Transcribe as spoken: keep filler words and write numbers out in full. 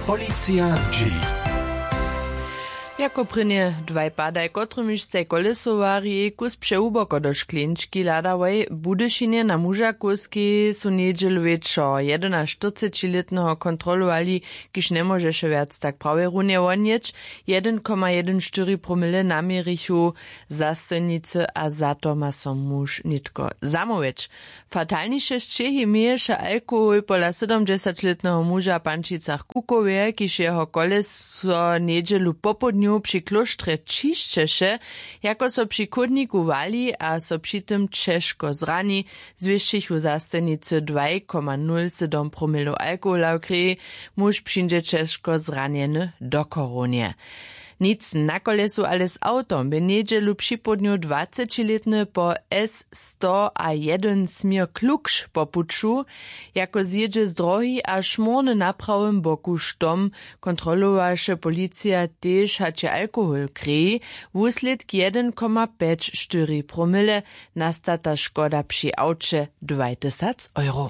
Policija zdźěli. Jako prěnje dwaj padaj, kotrymiž staj kolesowarjej kus přehłuboko do škleńčki hladałoj w Budyšinje na Mužakowskej su njedźelu wječor jedynaštyrcećilětneho kontrolowali, kiž njemóžeše wjac tak prawje runje wonjeć. Jedyn koma jedyn štyri promile naměrichu zastojnicy a za to ma so muž nětko zamołwjeć. Fatalniše sćěhi měješe alkohol pola sydomdźesaćlětneho muža w Pančicach Kukowje, kiž jeho koleso njedźelu popołdnju při klóštrje ćišćeše, jako so při chódniku wali a so při tym ćežko zrani, zwěsćichu zastojnicy dwaj koma nul sydom promilow alkohola w kreji. Muž přińdźe ćežko zranjeny do chorownje. Nic na kolesu, ale z awtom bě njedźelu připołdnju dwacećilětny po s sto a jedyn směr klukš po puću, jako zjědźe z drohi a šmórny na prawym boku štom. Kontrolowaše policija tež hač je alkohol w kreji. Wuslědk jedyn koma pjeć štyri promile. Nastata škoda při awće dwajtysac euro.